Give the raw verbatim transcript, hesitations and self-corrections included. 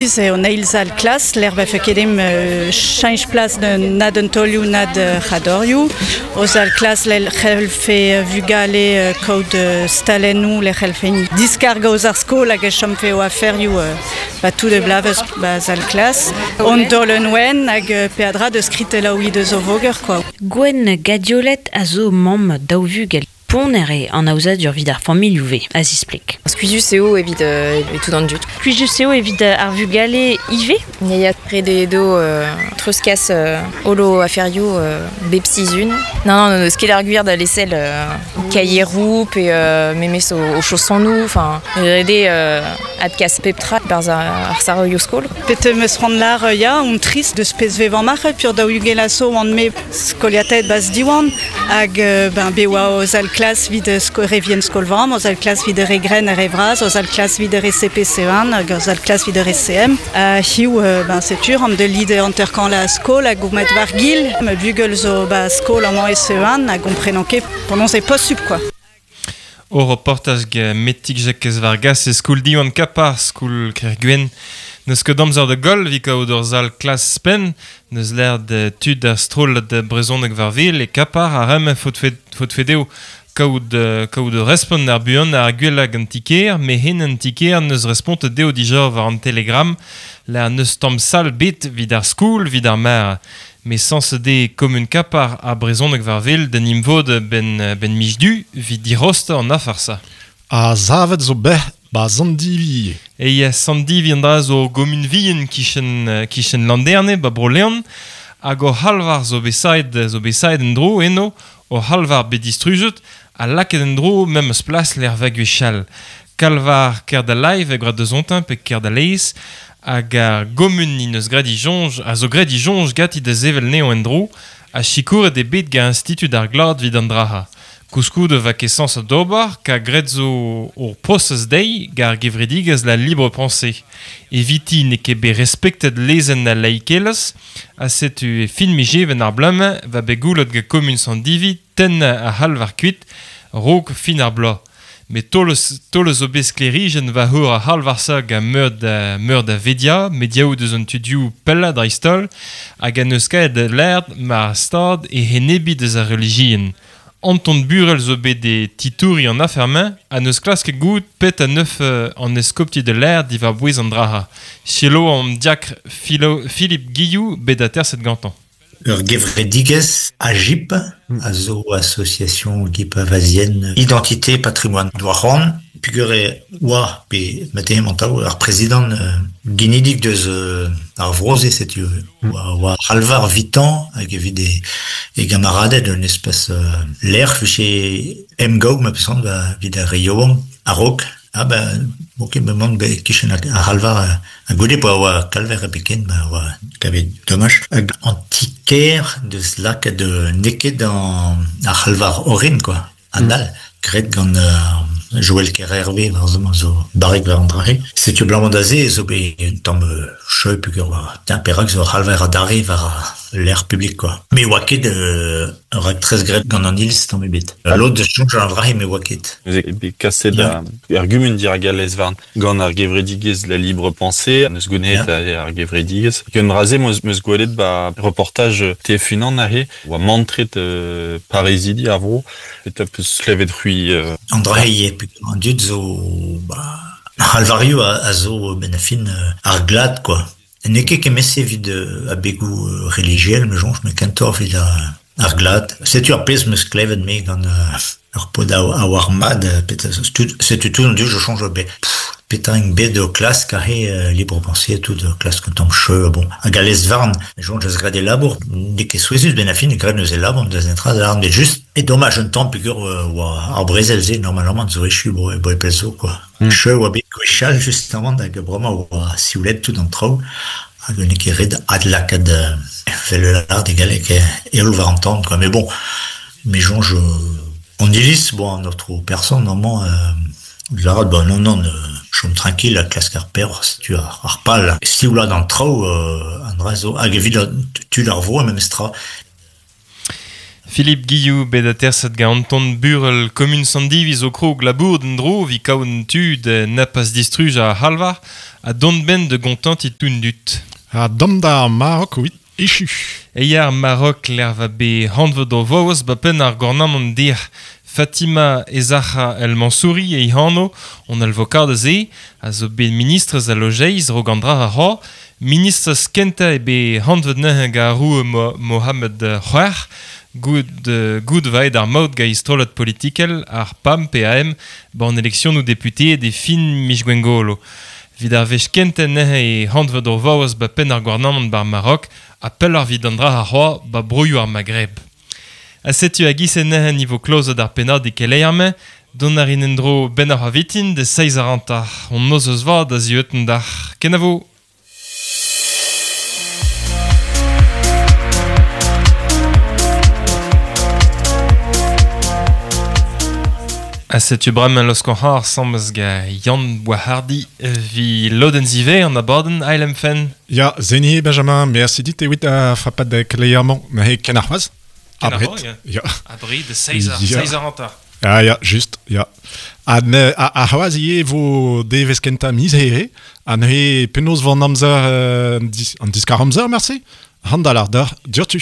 Eo an eil sal klas, lec'h vefe ket em euh, cheñch plas de na d'un tolioù na de c'hadorioù. O sal klas lel c'hellfe vugale kaout stalennoù le c'hellfe diskarga oz ar skol hag e chomfe o aferioù ba tout de blavez ba sal klas. On dolen wen hag peadra de skritelaoù deus o voger quoi. Gwen Gadiolet a zo mamm daou vugel. Poner eo an aozadur evit ar familhoù ve, a zispleg. Skuizhus eo evit euh, tout an dud. Skuizhus eo evit ar vugale ivez? Ya ret eo do euh, treuzkas euh, holo aferioù euh, bep sizhun. Non, non, non, ket ar gwir da lesel euh, kaieroù pe euh, memes o, o chaussonoù, enfin, ret eo euh, adkas pep tra barzh ar saroioù skol. Pet meus c'hoant lar ya, on trist deus pezh vevañ marc'h, pur daou ugent a zo an me skoliated bas diwan, hag ben be oa o zal klas vid re vien skolvam, o zal klas vid re gren re vraz, o zal klas vid re C P C un, hag o zal klas vid re C M. Uh, hiu, ben setur, am de lide anterkan la skol hag gourmet war gil, me bugel zo ba skol amañ e C un, hag gomprenan ket penaos e posubl quoi. O reportaj ge Metik Jakez Vargas e skol Diwan Kapar, skol Kerguen. Neus ket amzer de goll vi kaout ur zal klas spen, neus l'air de tud ar stroll de brezhoneg war vil e Kapar a rem faot fedeo kaout, kaout respont ar buan ar gwell an tiker, me hen an tiker neus respont deo dija war an telegram, la neus tamm sal bet vid ar skoul vid ar mar. Me sans de kommun Kapar a brezhoneg war vil den imvod ben, ben mijdu vid dirost an afarsa. A zavet zo beh ba Sandivi. E ya Sandivi an dra zo gomun vihan kichen, kichen Landerne ba Bro-Leon, hag o halvar zo besaet, zo besaet en dro eno, o halvar bet distrujet, a laket en dro mem eus plas l'er vaguechal. Kalvar ker da live e grad de zontin pe ker da leiz, hag ar gomun ni neus grad i jonj, a zo grad i jonj gati da zevel neo en dro, a chikouret e bet ga institut ar glad vid an draha. Kouskoude va ket sans a d'ober, ka gret zo ur prosez dei gar gevredigez la libre pensée. Eviti ne ket bet respektet lezenn a laikelez, a setu e fin mijeven ar blame va bet goulet ga kommun Sandivi ten a halvar kuit, rog fin ar bloaz. Me tolez, tolez o bet sklerijen va heur a halvarsa ga meur da, meur da vedia, mediaou deus an tudioù pella dreistol, hag an eus kaet l'aerd ma stad e henebi deus ar religien. Anton Burel zo bet e titouri an afermañ a neus klask gout pet a neuf an eskopti de l'air divar bouez an draha. Chelo an diakr Philo, Philippe Guillou bet a terset gantan. Ur gevredigez AGIP, a zo association gipavasienne identité patrimoine doaran, pugure oa pe matin mentao ar président euh, ginidik deus euh, ar vroze setu oa oa halvar vitan hag evit e, e gamaradet un espèce euh, l'air fiche emgaou ma pesan va vid ar reioan a-raok. Ah ben, ok, me mank be kichen ar halvar a goude pa oa kalver a beken, ba oa kavet dommage. Hag an tiker deus lakaet de neket an ar halvar orin, quoi. An dal, gret gant euh, Joël Kerhervé, war zo, zo barrek war an drahe. Setu blanc d'aze, zo be un tamm cheu pugur war tin perak zo halvar a dare war l'air public, quoi. Me oa ket euh, rak tres gret gant an iliz tamm ebet. L'autre de chonj an drahe me oa ket. Neuze be kaset yeah. Ar gumun dir galez varn gant ar gevredigez la libre pensée, neus gounet yeah. Ar gevredigez. Gant raze meus, meus gwelet ba reportage T F un an ahe, oa mantret euh, Parisidi ar vro, et a peus klevet c'hui... Euh... An drahe ye, an dud zo... Ba, alvario a, a zo ben a fin ar glad, quoi. Ne ket kemese vid a begou religiel, me jonj, me kentor vid ar, ar glad. Setu ar pezh meus klevet me gant ur pod a, a war mad, setu tout an dud, je change be. Petra ing bet o klask a he libre pensée, tout de klask un tamm cheu, bon. Hag a lez varn, me jonj eus grad e labour, ne ket souezus ben a fin, grad eus e labour, deus entra, da bet just. E dommage un tamm peogwir oa ar brezel ze, normalement, zo echu bo, bo e pell zo, quoi. Mm. Cheu oa bet gwechall, justement, hag bremañ oa sioulet tout an traoù, hag ne ket ret adlakaat vel l'art de galek e war an tamm, quoi. Mais bon, me jonj, on iliz, bon, notre personne, normalement, euh, Larad, bah non, non, euh, chom tranquille, la klask ar per, tu ar, ar pal. Si ou la dans traoù, euh, an dra zo, hag evit tu l'ar vo, même stra. Philippe Guillou bet aterset gant Anton Burel kommun Sandiviz o krog labour den dro vi kaoun tud na pas distruj a halvar a don ben de gontant i toun dut. Ha dom da Marok ouit echu. Eiar Marok l'er va be hanvet o voaz ba pen ar gornamant dir Fatima Ezacha El Mansouri e hano on alvokad ze a zo bet ministrez a lojeiz rogandra a ra ministrez kenta e be hanvet neuze ga roue Mo Mohamed C'hwec'h goud, goud vaet ar maout ga istrolat politikel ar P A M P A M ban eleksion ou député de fin Mich Gwengolo. Vid ar vech kenten neuze e hanvet o vaoz ba pen ar gouarnamant bar Marok a pell ar vid an dra ar c'hoa ba broioù ar Maghreb. A setu a gisen neuze niveau klozet ar pennad e keleier-mañ, don ar in endro ben ar avitin de seiz ar antar. On noz eus vad a zieutenn d'ar kenavo. A setu bremañ losk an c'har samez ga Yann Boishardy vi lodenn zive an abadenn Ailem Fen. Ya, zeni Benjamin, merci dit ewit a frapat da keleier-mañ, ma he ken ar c'hoaz. Abret. Abret. Ya. Abri de seiz ar, Ya. seiz ar antar. Ah ya, just, ya. Ha ne, a, a c'hoaz ivez vo devez kentañ miz here, ha neuze penaos van amzer, euh, an dis, an diskar amzer, merci. Handal ar d'ur, diortu.